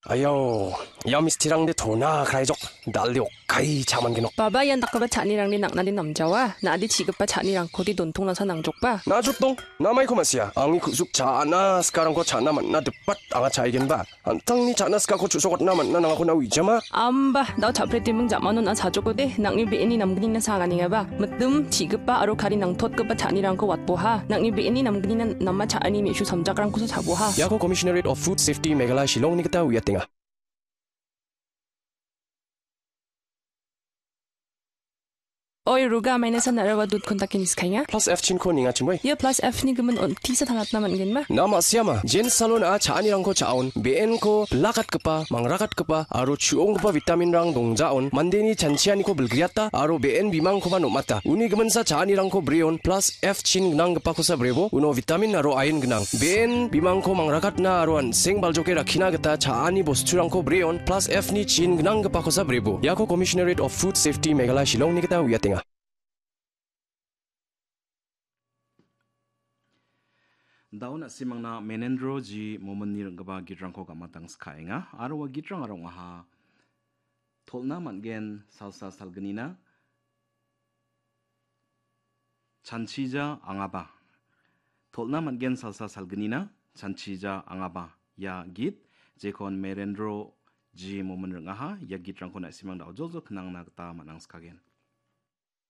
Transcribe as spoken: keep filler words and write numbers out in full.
Ayo, ia mistirangde tona kraijok, dalde okkai cha·mangenok. Baba, ian dakgipa cha·anirangde nang·nade namjawa, na·ade chigipa cha·nirangkode dontongnasa nangjokba. Najotdong, namaiko ma·sia, angni ku·suk cha·na sikarangko cha·na man·na dipat anga cha·aigenba. An·tangni cha·na sikako chu·sokatna man·na nangako na uijama? Amba, dao cha·pretiming ja·manon a·sajokode, nang·ni be·eni namgnina sa anganengaba. Mitim, chigipa aro kari nangtotgipa cha·anirangko watboha. Nang·ni be·eni namgnina nama cha·ani me·su samjakrangkosa cha·boha. Iako Commissionerate of Food Safety Meghalaya Shillongni gita uiatenga. Oi, Ruga, maina san aro ua dud kontakin iskainga. Plus F chinko ninga chimoi. Ia plus F ni gimin on tisa tangatna man·genba? Na ma·siama, Jen Salon a cha·anirangko cha·on, be·enko bilakatgipa, mangrakatgipa, aro chu·onggipa vitaminrang dongjaon, mandeni chanchianiko bilgriata, aro be·en bimangkoba nom·ata. Uni giminsa cha·anirangko breon, plus F chin gnanggipakosa brebo, uno vitamin aro ain gnang. Be·en bimangko mangrakatna aro an·seng baljoke rakkina gita cha·ani bosturangko breon, plus F ni chin gnanggipakosa brebo. Iako Commissionerate of Food Safety Meghalaya Shillongni gita uiatenga. Daun a·simangna Menendro G Mominni ring·gipa gitrangko gamatang skaenga, aro ua gitrangara ong·aha, tolna man·gen salsa salgnina, chanchija angaba. Tolna man·gen salsa salgnina, chanchija angaba. Ia git, jekon Menendro G Momin ring·aha, ia gitrangko na·simang da·o joljol knangna gita man·angskagen.